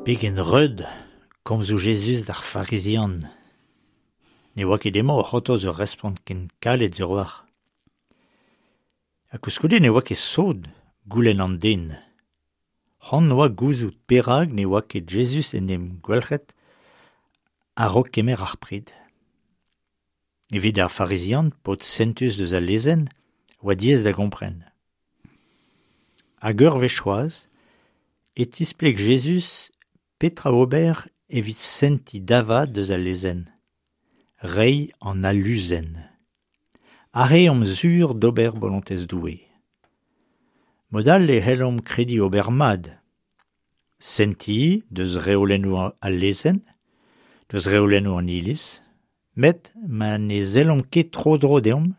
Pegen reut komzoù Jezuz d'ar Farizian. Ne oa ket emañ o c'hortoz ur respont ken kalet sur a-walc'h. Ha koulskoude ne oa ket sot goulenn an den. C'hoant oa gouzout perak ne oa ket Jezuz en em gwalc'het a-raok kemer ar pred. Evit ar Farizian, paotr sentus deus al lezenn, oa diaes da gompren. Hag ur wech c'hoazh e tispleg Jezuz petra ober evit sentiñ da vat deus al lezenn, reiñ an aluzenn. Aze omp sur d'ober bolontez Doue. Mod all e c'hellomp krediñ ober mat. Sentiñ deus reolennoù al lezenn, deus reolennoù an Iliz, met ma ne sellomp ket tro-dro deomp,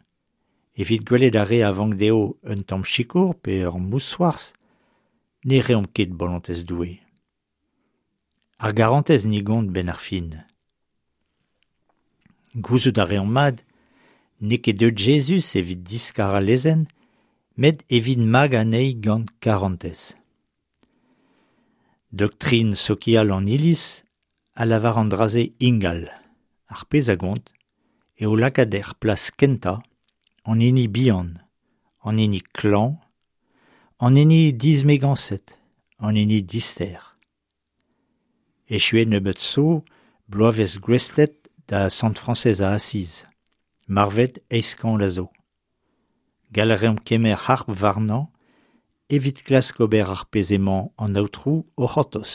evit gwelet ar re a vank dezho un tamm sikour pe ur mousc'hoarzh, ne reomp ket bolontez Doue. Ar garantez ni gont 'benn ar fin. Gouzout a reomp mat n'eo ket deuet Jezuz evit diskar al lezenn, met evit magañ anezhi gant karantez. Doktrin sokial an Iliz a lavar an dra-se ingal. Ar pezh a gont eo lakaat er plas kentañ an hini bihan, an hini klañv, an hini dismegañset, an hini dister. Echuet nebeut zo bloavezh gouestlet da Sant Frañsez a Asiz, marvet eizh kant a zo. Gall a reomp kemer harp warnañ evit klask ober ar pezh emañ an Aotrou o c'hortoz.